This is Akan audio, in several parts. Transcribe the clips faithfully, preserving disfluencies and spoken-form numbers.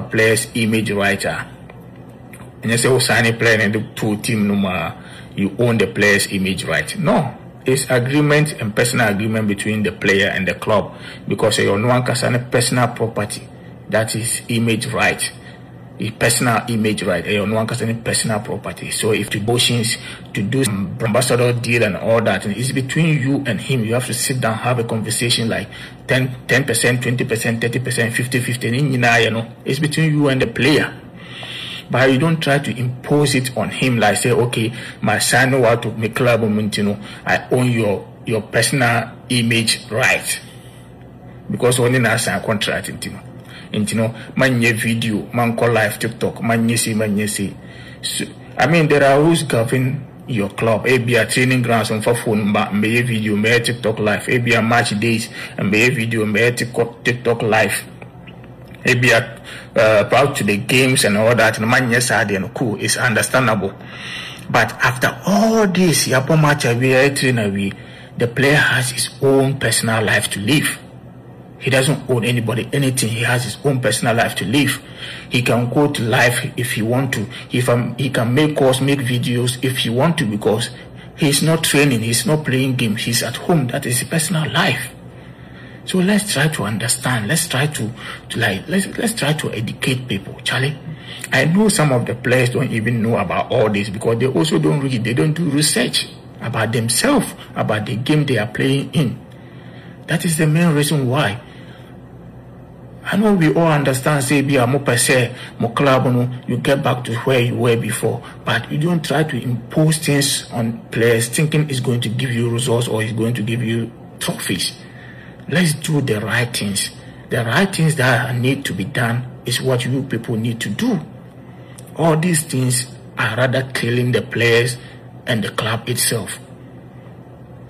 about players image right a ɛnyɛ sɛ wo sign player no de to team no mu a you own the players image right no it's agreement and personal agreement between the player and the club because ɛyɛ ɔno ankasa ne personal property that is image right his personal image right ɛyɛ ɔno ankasa ne personal property so if to motions to do some ambassador deal and all that it's between you and him you have to sit down have a conversation like ten percent twenty percent thirty percent fifty fifty ne nyinaa yɛ no it's between you and the player but you don't try to impose it on him like say okay my sign out to me club mu nti no i own your your personal image right because ɔne na sign contract nti no nti no manyɛ video mankɔ live tiktok manyɛ sei manyɛ sei so i mean there are rules govern your club ebia training grounds mfa phone mba mbɛyɛ video mbɛyɛ tiktok live ebia match days mbɛyɛ video mbɛyɛ tiktok tiktok live ebia uh, proud to the games and all that no manyɛ saa deɛ no cool it's understandable but after all this yɛabɔ match awie yɛayɛ train awie the player has his own personal life to live he doesn't own anybody anything. He has his own personal life to live. He can go to live if he want to. If um, he can make calls, make videos if he want to, because he's not training, he's not playing games, he's at home. That is his personal life. So let's try to understand. Let's try to, to like let's let's try to educate people, Charlie. I know some of the players don't even know about all this because they also don't read, they don't do research about themselves, about the game they are playing in. That is the main reason why. I know we all understand, sɛ ebia mo pɛ sɛ, mo club no, you get back to where you were before. But you don't try to impose things on players thinking it's going to give you results or it's going to give you trophies. Let's do the right things. The right things that need to be done is what you people need to do. All these things are rather killing the players and the club itself.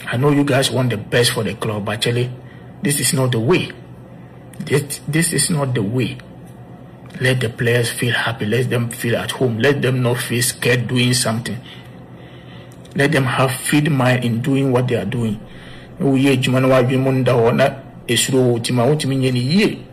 I know you guys want the best for the club, but actually, this is not the way. This, this is not the way. Let the players feel happy. Let them feel at home. Let them not feel scared doing something. Let them have free mind in doing what they are doing. Woyɛ adwuma na wadwene mu nda hɔ na esuro wɔ ti ma wotumi nyɛ ne yie.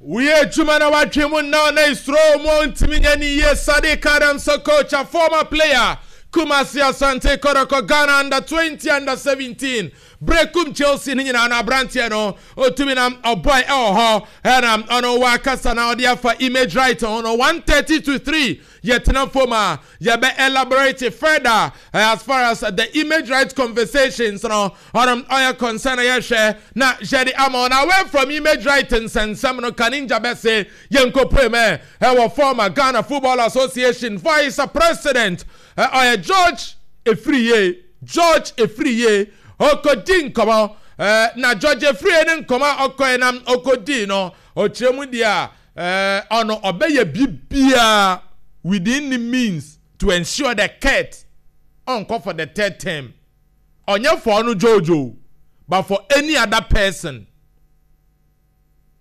woyɛ adwuma na wadwe mu nna na esuro mu ntumi nyɛ ne yie sadiq adams coach a former player kumasi asante kotoko ghana under twenty under seventeen brekum chelsea ne nyinaa no aberanteɛ no otumi na ɔbɔe ɛwɔ hɔ ɛna ɔno wakasa na ɔde afa image right ho no one thirty to three yɛtena fam a yɛbɛ elaborate further uh, as far as the image right conversations no ɔno ɔyɛ concern yɛhwɛ na yɛde ama ɔno away from image right nsɛnsɛm no kaninja bɛse yɛnkɔpue mɛ ɛwɔ former ghana football association vice president ɔyɛ george efiriye george efiriye ɔkɔdi nkɔmɔ ɛɛ na george efiriye ne nkɔmɔ a ɔkɔɛ nam ɔkɔdi no ɔkyerɛ mu deɛ a ɛɛ ɔno ɔbɛyɛ biribiara within the means to ensure the Kurt ɔnkɔ for the third term ɔnyɛ for ɔno jojo but for any other person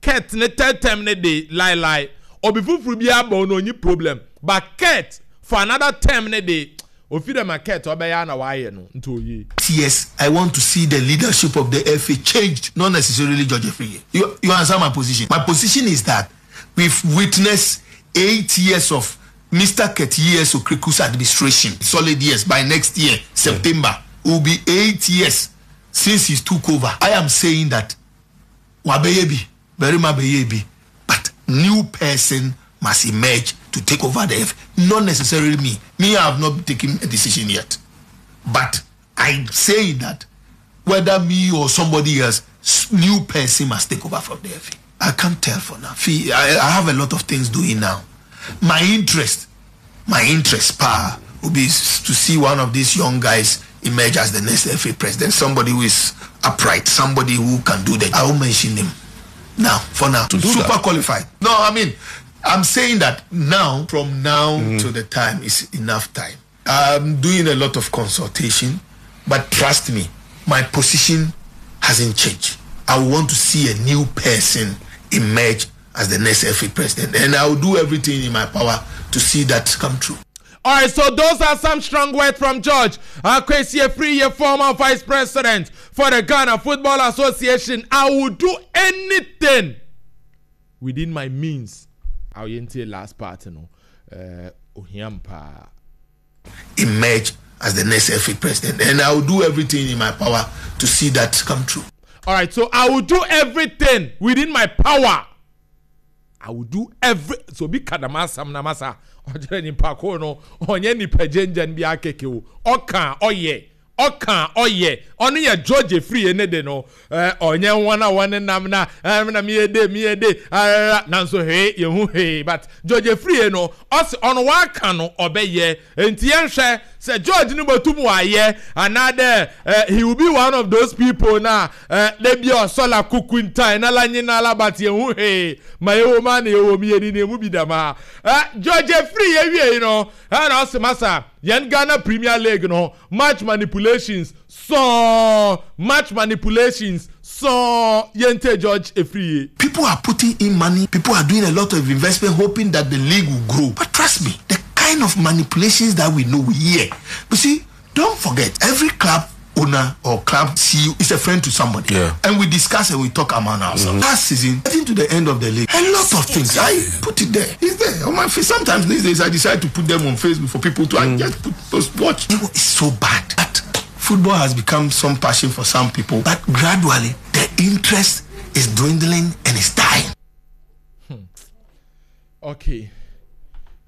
Kurt ne third term ne de lie lie obi foforɔ bi aba ɔno onyi problem but Kurt for another term ne de ofi dɛm a Kurt ɔbɛyɛ ana wayɛ no nti oye. Yes, I want to see the leadership of the FA changed, not necessarily George Afriyie. You, you answer my position. My position is that we've witnessed eight years of Mr. Kurt E.S. Okraku's administration, solid years. By next year, September, it will be eight years since he took over. I am saying that wabɛyɛ bi, barima bɛyɛ bi, but new person must emerge to take over the FA. Not necessarily me. Me, I have not taken a decision yet. But I'm saying that whether me or somebody else, new person must take over from the FA. I can't tell for now. I, I have a lot of things doing now. My interest, my interest, pa, will be to see one of these young guys emerge as the next FA president. Somebody who is upright, somebody who can do that. I won't mention him now, for now. To do Super that. qualified. No, I mean, I'm saying that now, from now mm. to the time is enough time. I'm doing a lot of consultation, but trust me, my position hasn't changed. I want to see a new person emerge as the next FA president, and I will do everything in my power to see that come true. All right, so those are some strong words from George Akwesi Afriyie, former vice president for the Ghana Football Association. I will do anything within my means Yɛntie last part no, uh, ohiam paa. Emerge as the next F A president, and I will do everything in my power to see that come true. All right, so I will do everything within my power. I will do every so bi kadama asam na masa ɔkyerɛ nipa ko no ɔnyɛ nipa gyengyen bi akeke o, ɔka ɔyɛ ɔka ɔyɛ ɔno yɛ George Afriyie ne de no, ɔnyɛ wɔn a wɔne nam na ɛm na miyɛ de miyɛ de arara nanso hwee yɛn ho hwee, but George Afriyie no ɔsi ɔno waka no ɔbɛyɛ. Nti yɛnhwɛ sɛ George no bɛtum wayɛ anaadɛ uh, he will be one of those people na uh, de bi ɔsɔla kuku ntan na la nyina la, but yɛn ho hwee ma yɛwɔ mu a na yɛwɔ mu yɛ ni na emu bi dama. uh, George Afriyie wie yi no, ɛna ɔsi masa yɛn Ghana Premier League no, match manipulations sɔɔ, match manipulations sɔɔ. Yɛnte George Afriyie. People are putting in money, people are doing a lot of investment hoping that the league will grow, but trust me, the kind of manipulations that we know here. You see, don't forget, every club owner or club C E O is a friend to somebody. Yeah. And we discuss and we talk among ourselves. Mm-hmm. Last season, getting to the end of the league, a lot of things. I put it there. It's there on my face. Sometimes these days I decide to put them on Facebook for people to mm. I just put those watch. It's so bad that football has become some passion for some people, but gradually the interest is dwindling and it's dying. Hmm. Okay.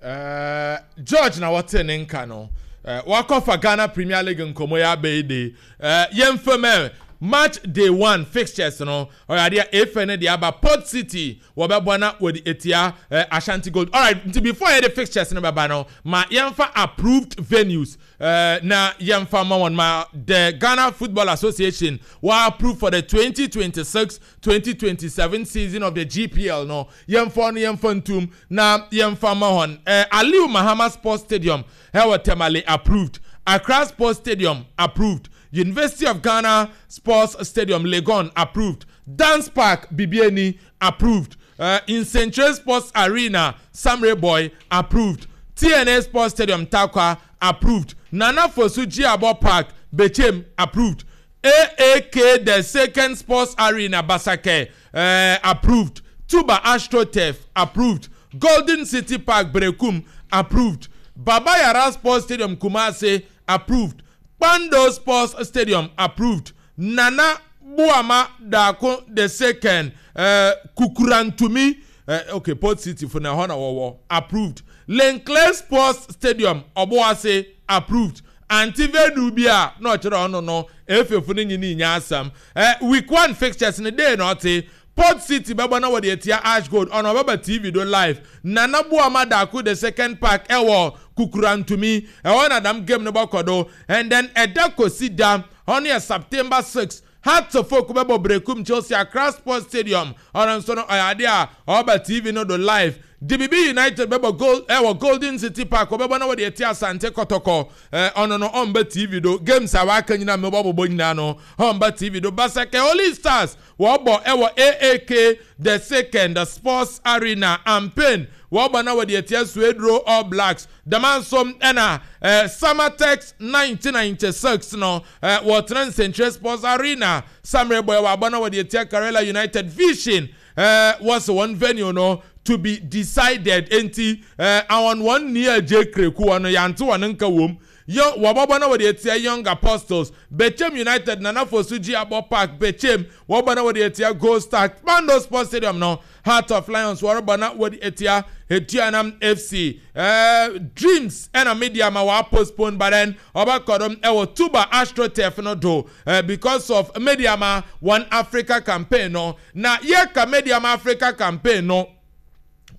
Uh, George na wote ne nka no. Uh, wakɔfa Ghana Premier League nkɔmɔ ya bɛyi de uh, yɛmfɛmɛ match day one fixtures no ɔyɛ adeɛ efe ne de aba. Port City wɔbɛbɔ na wɔde etia uh, Ashanti Gold. Alright, nti before yɛde fixtures no bɛba no, ma yɛmfa approved venues uh, na yɛmfa ma wɔn ma the Ghana Football Association wɔ approve for the twenty twenty-six twenty twenty-seven season of the G P L no. Yɛmfa no yɛmfa ntum na yɛmfa ma wɔn. uh, Aliu Mahama Sports Stadium ɛwɔ Tamale approved, Accra Sports Stadium approved, University of Ghana Sports Stadium Legon approved, Dance Park Bibiani approved, uh, Nsenkyire Sports Arena Samre Boy approved, T N A Sports Stadium Tarkwa approved, Nana Fosu Jiabo Park Bechem approved, A A K the Second Sports Arena Basake uh, approved, Tuba AstroTurf approved, Golden City Park Berekum approved, Baba Yara Sports Stadium Kumasi approved, Pando Sports Stadium approved, Nana Buama Dako the Second uh, Kukurantumi uh, okay, Port City for Nahona Wawa approved, Lenclair Sports Stadium Obuasi approved, Antive Dubia no no no efe funi nyini nyasam. Uh, week one fixtures in the day naughty. Port City baba na wode etia Ash Gold on Baba T V do live. Nana Buama Dako the Second Park ewo Kukurantumi ewo na dam game no bakodo, and then Edako Sida on here September sixth. Hearts of Oak bebo Brekum Chelsea Accra Sports Stadium on so no idea Oba T V no do live. D B B United bebo gold ewo Golden City Park bebo na wode etia Asante Kotoko eh ono no on T V do games awaka nyina me bobo nyina no on T V do. Basake Holy Stars wobo ewo A A K the Second the Sports Arena Ampain wobo na wode etia Swedro All Blacks the man som ena eh, Samatex nineteen ninety-six no eh, Wotran Central Sports Arena Samre Boy wobo na wode etia Karela United Vision eh, was one venue no to be decided. Enti eh, awon one near J Kreku ono yanto one nka wom yo wababa na wode etia Young Apostles Bechem United Nana Fosu Jiabo Park Bechem wababa na wode etia Gold Star Pando Sports Stadium no Heart of Lions wababa na wode etia Etuanam F C eh, Dreams ena media ma wa postpone, but then obakodom ewo Tuba AstroTurf no do eh, because of media ma One Africa campaign no na ye ka media ma Africa campaign no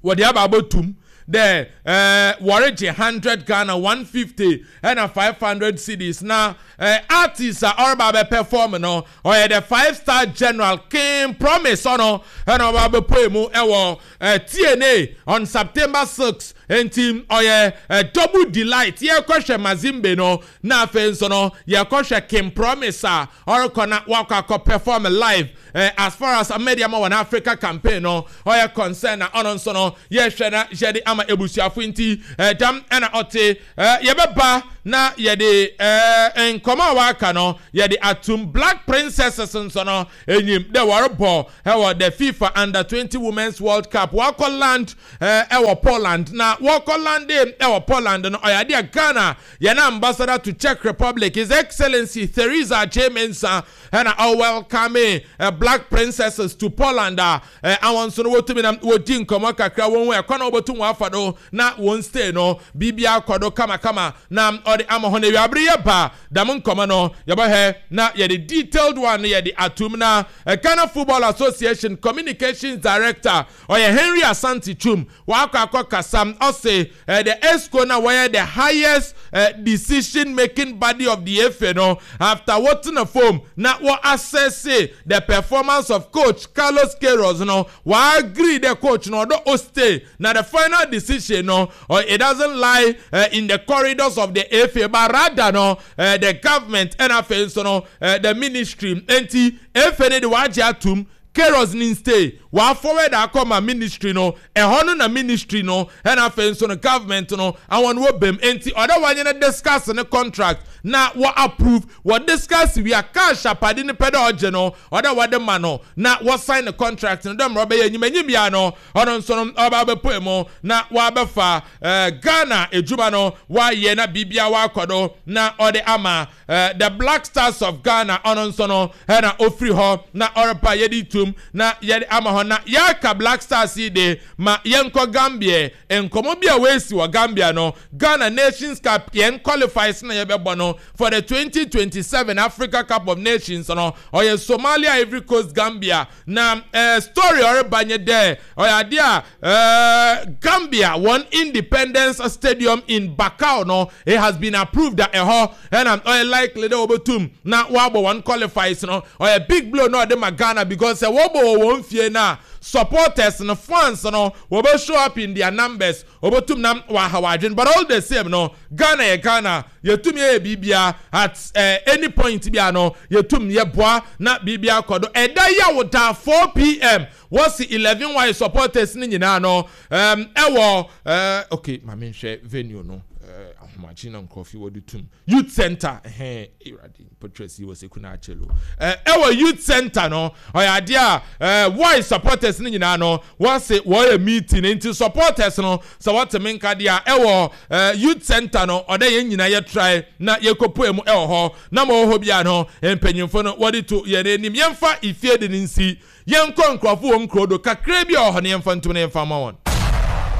wode aba abotum there eh warage hundred Ghana one fifty and a five hundred C Ds na eh, artists are all about perform no or the five star general King Promise ono and about poemu ewo eh, T N A on September sixth and team or eh, double delight ye kweshe Mazimbe no na fenso no ye kweshe King Promise or kona waka ko perform live eh, as far as Medeama wɔn Africa campaign no ɔyɛ concern na ɔno nso no yɛhwɛ na yɛde ama ebusuafo. Nti eh, dam ɛna ɔte eh, yɛbɛba na yɛde eh, nkɔmɔ a waka no yɛde atum. Black Princesses nso no enyim dɛ wɔrebɔ ɛwɔ the FIFA Under twenty Women's World Cup. Wakɔ land ɛwɔ Poland, na wɔkɔ land ɛwɔ Poland no, ɔyɛ adeɛ Ghana yɛn ambassador to Czech Republic, His Excellency Theresa J Mensah, ɛna ɔwelcome uh, Black Princesses to Poland a awɔn nso no wɔtumi na wɔdi nkɔmɔ kakra wɔn ho ɛkɔ na wɔbɛtum wɔn afa do na wɔn stay no biribi akɔ do kamakama na ɔde ama hɔ. Na ewiabere yɛ ba dam nkɔmɔ no yɛbɛhɛ na yɛde detailed one no yɛde atum. Na uh, Ghana Football Association communications director ɔyɛ Henry Asante Twum wakɔ akɔ kasa. Ɔse uh, the EXCO na wɔyɛ the highest uh, decision making body of the F A no, after wɔtena fam na wɔ assess the performance of coach Carlos Queiroz no, wɔ agree the coach no ɔdɔ o stay, na the final decision no uh, it doesn't lie uh, in the corridors of the F A but rather no uh, the government ɛna afei nso no uh, the ministry. Nti F A ne de wagye atum Queiroz ni stay, wa forward akɔma ministry no ɛhɔ no, na ministry no ɛna afei nso no government no àwọn wɔ bɛm. Nti ɔdɛ wɔnyɛ no discuss ne contract na wɔ approve, wɔ discuss wia cash apade ne pɛ dɛ ɔgye no ɔdɛ wɔde ma no na wɔ sign the contract no dɛ mmerɛ ɔbɛyɛ enyim enyim ya no ɔno nso no ɔba abɛpɔ mu na wabɛfa ɛɛ Ghana edwuma no wayɛ na biribia wakɔ do na ɔde ama ɛɛ the Black Stars of Ghana. Ɔno nso no ɛna ofiri hɔ na ɔrepa yɛde tum na yɛde ama hɔ. Na yɛaka Black Stars yi de ma yɛnkɔ Gambia. Nkɔmɔ bi a wɔasi wɔ Gambia no, Ghana Nations Cup yɛn qualifiers na yɛbɛbɔ no for the twenty twenty-seven Africa Cup of Nations no ɔyɛ Somalia, Ivory Coast, Gambia. Na ɛɛ story ɔreba nye dɛ ɔyɛ adeɛ a ɛɛ Gambia wɔn Independence Stadium in Bakau no, it has been approved that ɛhɔ ɛna ɔyɛ likely dɛ wɔbɛtum na wɔabɔ wɔn qualifiers no. Ɔyɛ big blow na ɔde ma Ghana because sɛ wɔbɔ wɔ wɔn fie na supporters no, fans no, wɔbɛ show up in their numbers, wɔbɛtum na wɔaha wɔadwene. But all the same no, Ghana yɛ Ghana, yɛtum yɛ biribia at uh, any point bia no yɛtum yɛboa na biribia kɔ do. Ɛda yi a wɔda four p m wɔsi eleven y supporters ne nyinaa no um, ɛwɔ uh, okay, maame nhwɛ venue no uh, ahomakye na nkurɔfo wɔde tum youth center ɛhɛn ewurade mpɔtwerɛ wɔ sekuna akyelo ɛɛ ɛwɔ youth center no. Ɔyɛ adeɛ a ɛɛ y supporters ne nyinaa no wɔsi wɔyɛ meeting. Nti supporters no sɛ wɔte me nka deɛ a ɛwɔ ɛɛ youth center no, ɔdɛ yɛn nyinaa yɛ try na yɛkɔpue mu ɛwɔ hɔ na ma ɔwɔ hɔ bia no mpanyinfo no wɔde to yɛn anim. Yɛmfa ifie de ne nsi yɛnkɔ nkurɔfo wɔ nkuro do kakra bi a ɔwɔ hɔ no yɛmfa ntom na yɛmfa ma wɔn.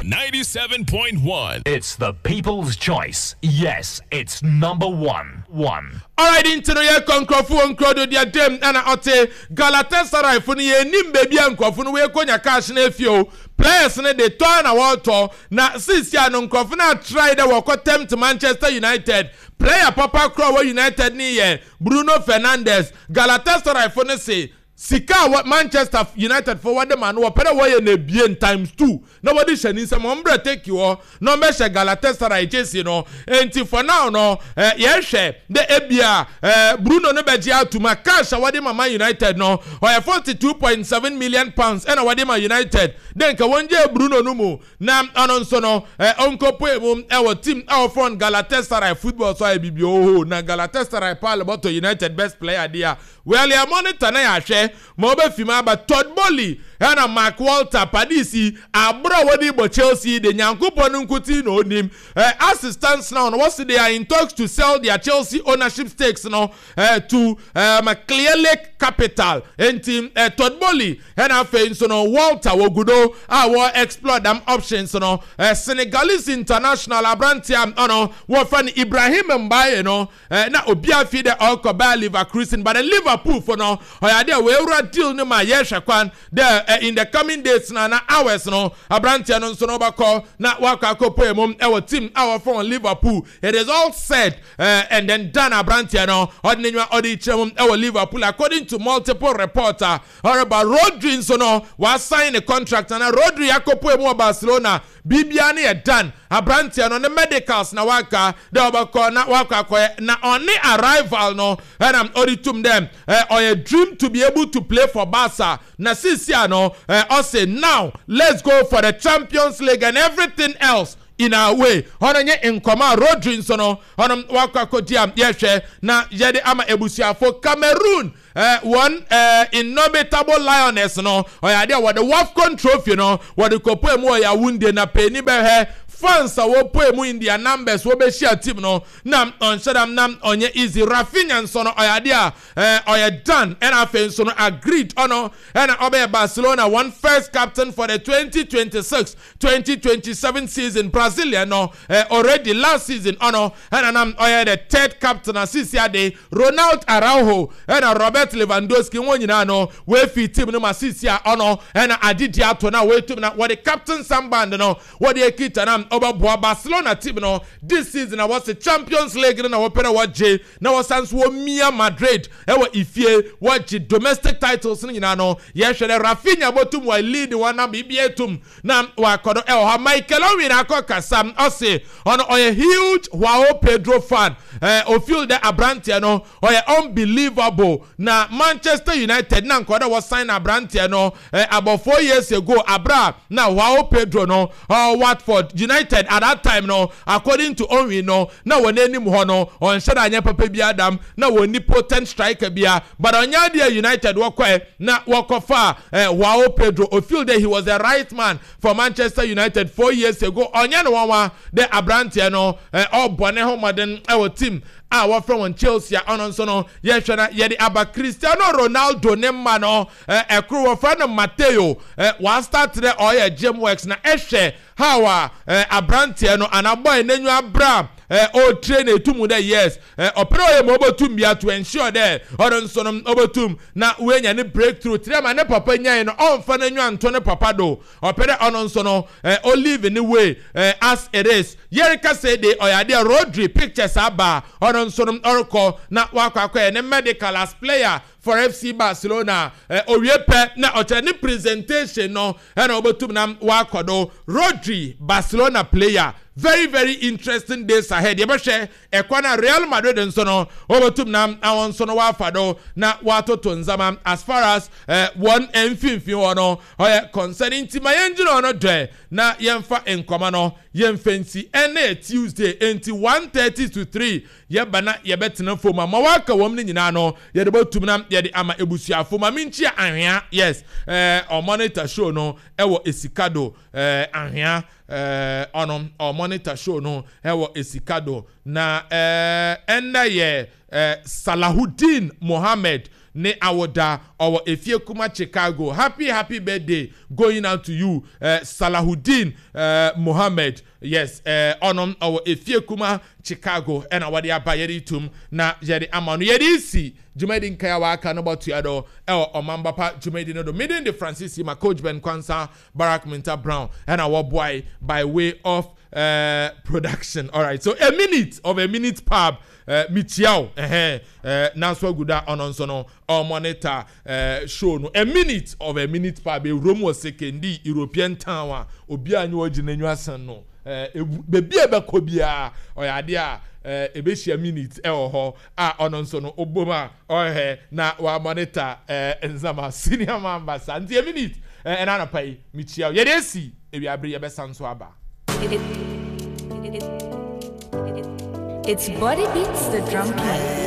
ninety-seven point one. It's the people's choice. Yes, it's number one. One. Alright, nti no yɛkɔ nkurɔfo wɔ nkuro do deɛ dem ɛna ɔte Galatasaray fo no yɛnim baabi a nkurɔfo no wɔkɔnya cash no afie o. Players no de tɔ na wɔretɔ na sisia no nkurɔfo no atry dɛ wɔkɔ tempt Manchester United player papa koro a wɔ United ne yɛ Bruno Fernandes. Galatasaray fo no se sika a Manchester United fo wɔde ma no wɔpɛ dɛ wɔyɛ no ebien times two na wɔde hyɛ ne nsam wɔn brɛ take hɔ na wɔbɛhyɛ Galatasaray jersey no. Nti for now no ɛɛ yɛhwɛ dɛ ebia ɛɛ Bruno no bɛgye atum a cash a wɔde ma Man United no ɔyɛ forty two point seven million pounds ɛna wɔde ma United dɛ nka wɔn gye Bruno no mu na ɔno nso no ɛɛ ɔnkɔpue mu ɛwɔ team a wɔfrɛ no Galatasaray football. So ayɛ bibi oho na Galatasaray paale bɔtɔ United best player deɛ a well yɛ monitor na yɛahwɛ ma ɔbɛfi mu aba. Todd Boehly ɛna Mark Walter Padisi aboro a wɔde bɔ Chelsea de Nyankopɔn no nkuti na onim ɛ assistance now no wɔsi they are in talks to sell their Chelsea ownership stakes no uh, to um, Clearlake Capital. Nti uh, Todd Boehly ɛna afei nso no Walter wogudo a wɔ explore them options no. uh, Senegalese international aberanteɛ ɔno wɔfrɛ no Ibrahim Mbaye no uh, na obi afi dɛ ɔkɔ Bayer Leverkusen, but the Liverpool fo no ɔyɛ adeɛ a wɔawura deal no ma yɛhwɛ kwan dɛ uh, in the coming days na na hours no, aberanteɛ no nso no ɔbɛkɔ na wakɔ akɔpɔ mu ɛwɔ team a wɔfrɛ wɔn Liverpool. It is all said uh, and then done. Aberanteɛ no ɔde ne nwa ɔde kyerɛ mu ɛwɔ Liverpool, according to multiple reports a ɔreba. Rodri nso no wasign ne contract na Rodri akɔpɔ mu wɔ Barcelona. Biribiara no yɛ done. Aberanteɛ no ne medicals na waka dɛ ɔbɛkɔ na wakɔ akɔyɛ na ɔne arrival no ɛna ɔde tum dɛ ɔyɛ dream to be able to play for Barca. Na sisi ano ɔsɛ, "Now let's go for the Champions League and everything else in our way." Ɔno nye nkɔmɔ a Rodri nso no ɔno wakɔ akɔdi a yɛhwɛ na yɛde ama ebusuafo. Cameroon uh, wɔn uh, Indomitable Lioness no, ɔyɛ adeɛ a wɔde WAFCON trophy no wɔde kɔpɔ mu wɔ Yaounde na panyin bɛhwɛ fans a wɔpɔ mu in their numbers wɔbɛhyia team no na ɔnhyɛ dam na ɔnyɛ easy. Raphinha nso no ɔyɛ adeɛ a ɛɛ ɔyɛ done, ɛna afei nso no agreed, ɔno ɛna ɔbɛyɛ Barcelona one first captain for the twenty twenty-six twenty twenty-seven season. Brazilian no ɛɛ already last season ɔno ɛna nam ɔyɛ the third captain. Asisi ade Ronald Araujo ɛna Robert Lewandowski wɔn nyinaa no wɔafi team no ma sisi a ɔno ɛna adidi ato na wɔatum na wɔde captain armband no wɔde ekita na ɔbɛboa Barcelona team no this season na wɔsi Champions League no na wɔpɛ na wɔgye na wɔsan so wɔmia Madrid ɛwɔ ifie, wɔgye domestic titles no nyinaa no. Yɛhwɛ dɛ Raphinha bɔtum wɔ lead wɔn na biribi etum na wakɔ do ɛwɔ hɔ. Michael Owen akɔ kasa, ɔsi ɔno ɔyɛ huge Joao Pedro fan. ɛɛ ofeel dɛ aberanteɛ no ɔyɛ unbelievable na Manchester United na nkɔda wɔsign aberanteɛ no ɛɛ about four years ago abra na Joao Pedro no ɔɔ Watford United at that time no, according to Owen no, na wɔn anim hɔ no ɔnhyɛ dɛ anyɛ papa bi adam na wɔn ni potent striker bia, but ɔnyɛ adeɛ United wɔkɔɛ na wɔkɔfa ɛɛ Joao Pedro. Ofeel dɛ he was the right man for Manchester United four years ago. Ɔnyɛ no wɔn dɛ aberanteɛ no ɛɛ ɔbɔ ne ho mmɔden ɛwɔ team a wɔfrɛ wɔn Chelsea a ɔno nso no yɛhwɛ na yɛde aba. Cristiano Ronaldo ne mma no ɛkoro wɔfrɛ no Mateo ɛ wastart dɛ ɔyɛ gym works na ɛhwɛ how a ɛ aberanteɛ no anabɔ n'enyi abra ɛ ɔretrain na etum dɛ yes, ɛ ɔpɛrɛ ɔyɛ ma ɔbɛtum bia to ensure dɛ ɔno nso no ɔbɛtum na wenya ne breakthrough tiri ama ne papa nyae no, ɔnfa n'enyi anto ne papa do. Ɔpɛ dɛ ɔno nso no ɛ ɔlive ne way ɛ as it is. Yɛreka sɛ de ɔyɛ adeɛ Rodri pictures aba, ɔno nso no ɔrekɔ na wakɔ akɔyɛ ne medical as player for F C Barcelona. ɛ owie pɛ na ɔkyerɛ ne presentation no ɛna ɔbɛtum na wakɔ do. Rodri, Barcelona player, very very interesting days ahead. Yɛbɛhwɛ ɛkwan a Real Madrid nso no wɔbɛtum na awon nso no wafa do na watoto nzama as far as uh, wɔn mfimfini hɔ no ɔyɛ concerning. Nti ma yɛn gyina hɔ no dɛ na yɛmfa nkɔmɔ no yɛmfa nsi. Ɛnɛ Tuesday nti one thirty to three yɛba na yɛbɛtena fam a ma waka wɔm no nyinaa no yɛde bɛtum na yɛde ama ebusuafo. Ma menkyia Ahwea, yes, ɛɛ ɔmonitor show no ɛwɔ Esikado. ɛɛ Ahwea ɛɛ ɔno ɔmonitor show no ɛwɔ Esikado na ɛɛ ɛnna yɛ ɛɛ Salahudeen Mohammed ne awoda, ɔwɔ Efie Kuma Chicago. Happy happy birthday going out to you, uh, Salahudeen uh, Mohammed. Yes, ɔno uh, ɔwɔ Efie Kuma Chicago ɛna wɔde aba yɛde tum na yɛde ama no. Yɛde si dwumadi nkae a waka no bɔtua do ɛwɔ Ɔmanbapa dwumadi no do. Meeting de Francis ma Coach Ben Kwansa, Barak Minta Brown ɛna wɔboae by way of uh, production. All right, so a minute of a minute pub uh, michiao ɛhɛn uh, nanso aguda ɔno nso no ɔmonitor uh, show no. A minute of a minute pub ewurom wɔ Sekondi European town a obiara nye wɔgyina n'enyi asan no ɛɛ beebi a ɛbɛkɔ biara ɔyɛ adeɛ a ɛɛ ebehyia minute ɛwɔ hɔ a ɔno nso no obom a ɔhɛ na wamonitor ɛɛ nzama senior man basa. Nti a minute ɛɛ ɛna anapa yi mikyia yɛde esi ewiabere yɛbɛsa nso aba. It, it, it, it's Body Beats the Drum King.